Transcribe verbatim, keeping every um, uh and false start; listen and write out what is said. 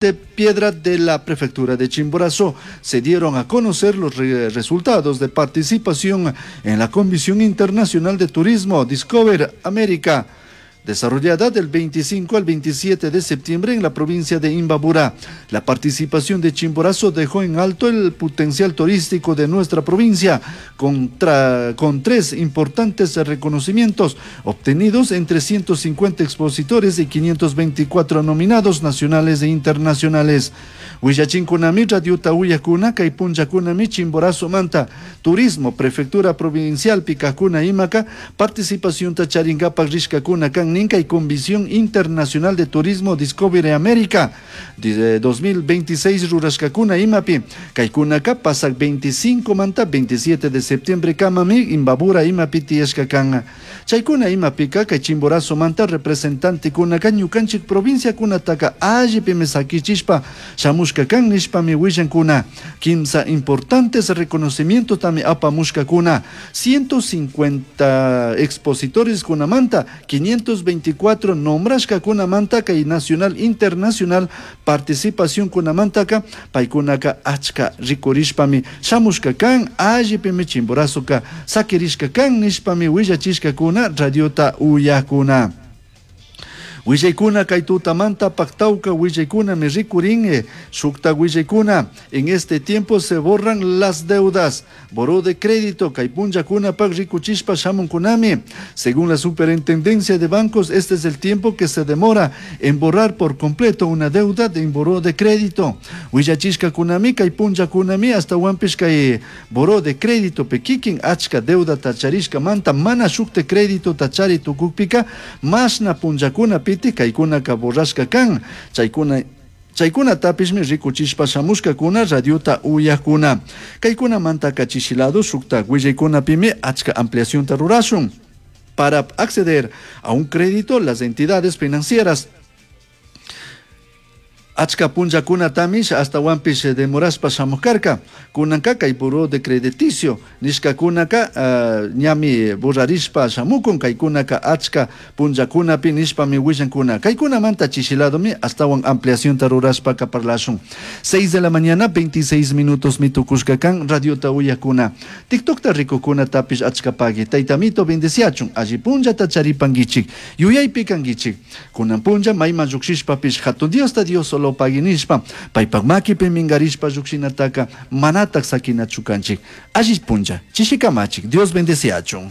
De Piedra de la Prefectura de Chimborazo se dieron a conocer los re resultados de participación en la Comisión Internacional de Turismo Discover América, desarrollada del veinticinco al veintisiete de septiembre en la provincia de Imbabura. La participación de Chimborazo dejó en alto el potencial turístico de nuestra provincia, con, con tres importantes reconocimientos obtenidos entre ciento cincuenta expositores y quinientos veinticuatro nominados nacionales e internacionales. Willachinkunami radiota uyakuna kay punllakunami Chimborazo manta Turismo Prefectura Provincial Picacuna imaka participación charinkapak rishkakuna kan ninka y Convención Internacional de Turismo Discovery América de dos mil veintiséis rurashkakuna imapi kaykunaka pasak veinticinco manta veintisiete de septiembre kamami Imbabura imapi tiyashka kan. Chaykuna imapika kay Chimborazo manta representante kunaka ñukanchik provincia kunataka allipimi sakichishpa shamushka kan nishpami willankuna. Kimsa importantes reconocimientos tami apamushkakuna. ciento cincuenta expositores kunamanta, quinientos veinticuatro nombrashka kunamanta kay nacional internacional participación kunamantaka paykunaka achka rikurishpami shamushka kan allipimi Chimborazoka sakirishka kan nishpami willachishkakuna radiota uyakuna. Willaykuna kay tutamanta paktauka willaykuna mi rikurin, shukta willaykuna. En este tiempo se borran las deudas. Buró de crédito kay punllakuna pak rikuchishpa shamunkunami. Según la Superintendencia de Bancos, este es el tiempo que se demora en borrar por completo una deuda de buró de crédito. Willachishka kunami kay punllakunami hasta wampish kay buró de crédito pekikin achka deuda tacharishka manta mana shukte crédito tachari tukukpika masna punllakuna pi kaykunaka borrashka kan. Chaykuna chaykunatapishmi rikuchishpa shamushkakuna radiota uyakuna. Kaykunamanta chishilado shukta willaykunapimi achka ampliacionta rurashun. Para acceder a un crédito, las entidades financieras achka punllakunatamish hasta wampish demorashpa shamukarka. Kunanka kay buró de crediticio nishkakunaka, uh, ñami borrarishpa shamukun kaykunaka achka punllakunapi nishpami willankuna. Kaykunamanta chishiladomi astawan ampliacionta rurashpaka parlashun. seis de la mañana, veintiséis minutos mitukushka kan radiota uyakuna. TikTokta rikukuna tapish achka pagui. Taytamito bendeciachun, alli punllata charipankichik, yuyaypi kankichik. Kunan punlla mayman llukshishpapish hatun Diosta Dios solo paginishpa, paypak makipi mingarishpa llukshinataka manatak sakinachu kanchik. Alli punlla, chishikamachik, Dios bendeciachun.